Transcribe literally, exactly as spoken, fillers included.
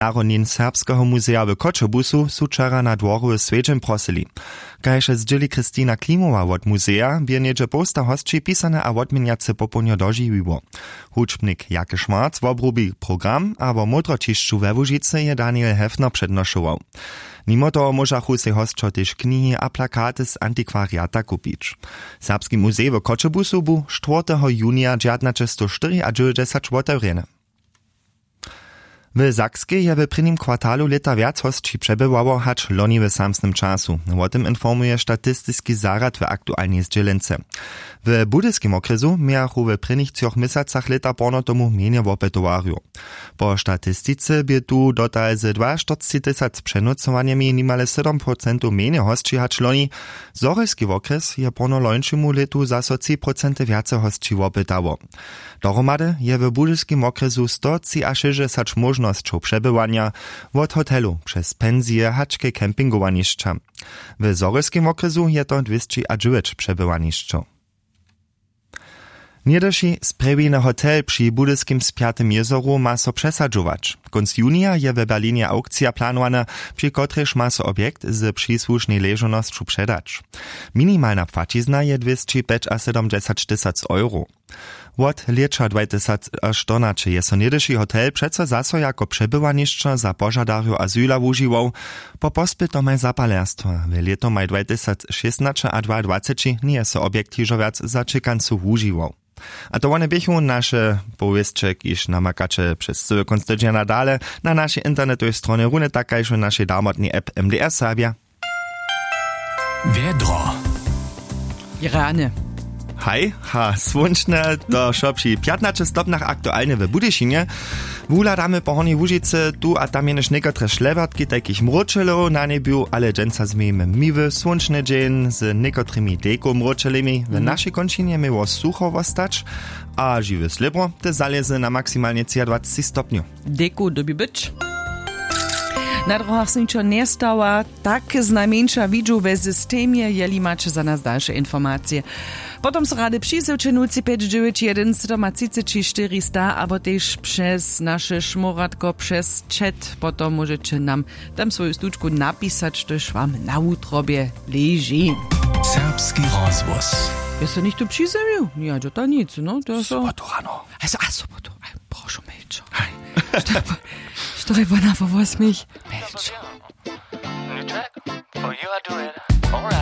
narodnin serbskeho muzeja w choćebuzu su wčera na dworowy swjedźeń prosyli. Kaž zdźěli christina klimowa wot muzeja, bě něhdźe połsta hosći pisane a wotměnjace popołdnjo dožiwiło. Hudźbnik jake schwarz wobrubi program a wo módroćišću we łužicy je daniel hefner přednošował. Nimo toho móžachu sej hosćo tež knihi a plakaty z antikwariata kupić. Serbski muzej w choćebuzu bu štwórteho junija dźewjatnaćestowštyriadźewjećdźesać wotewrjeny. W sakskej je w prěnim kwartalu lěta wjac hosći přebywało hač loni w samsnym času. Wo tym informuje statistiski zarjad w aktualnej zdźělence. W budyskim wokrjesu mějachu w prěnich třoch měsacach lěta porno tomu mjenje wopytowarjow. Po statistice bě tu dotal ze dwaštyrcci tysac přenócowanjemi nimale sydom procentow mjenje hosći hač loni. Zhorjelski wokrjes je porno lońšemu lětu zaso tři procenty wjace hosći wopytało. Dohromady je w budyskim wokrjesu stotřiašěsćdźesać móžnosćow přebywanja, wot hotelu přez pensije hač ke campingowanišća. W zhorjelskim wokrjesu je to dwěsćiadźewjeć přebywanišćow. Něhdyši sprjewiny hotel při budyskim spjatym jězoru ma so přesadźować. Kónc junija je w berlinje aukcija planowana, při kotrejž ma so objekt z přisłušnej ležownosću předać. Minimalna płaćizna je dwěsćipjećasydomdźesać tysac euro. Wot lěća dwajtysac štyrnaće je so něhdyši hotel přeco zaso jako přebywanišćo za požadarjow azyla wužiwał. Po pospytomaj zapalerstwa w lětomaj dwajtysac šěsnaće a dwaadwaceći njeje so objekt hižo wjac za čěkancu wužiwał. A to wone běchu naše powěsće, kiž namakaće přez cyły kónc tydźenja dale na našej internetowej stronje runje tak kaž w našej damotnej app mds serbja. Wjedro. Rany. Haj, ha słónčne, to wšo při pjatnaće stopnjach aktualnje w budyšinje. Wuhladamy po hornjej łužicy, tu a tam jenož někotre šlewertki tajkich mróčelow na njebju, ale dźensa změjimy miły słónčny dźeń z někotrymi dejkow mróčelemi. W našej kónčinje měło sucho wostać a žiwy slěbro te zalězy na maksimalnje třiadwaceći stopnjow. Dejkow dyrbi być. Na drohach so ničo njestawa. Tak znajmjeńša widźu we systemje, jeli maće za nas dalše informacije. Potom so rady přizywće nutři pjeć dźewjeć jedyn sydomatřiceći štyri sta abo tež přez naše šmoratko přez chat, potom móžeće nam tam swoju stučku napisać, štož wam na wutrobje leži. Serbski rozhłos. Je so něchtó přizjewił? Ja dźota nic, no to so. Sobotu rano. Also a sobotu. Prošu, melčo. Haj. Što je wona wo wosmich? Melčo. New track? Oh, you are doing it. All right.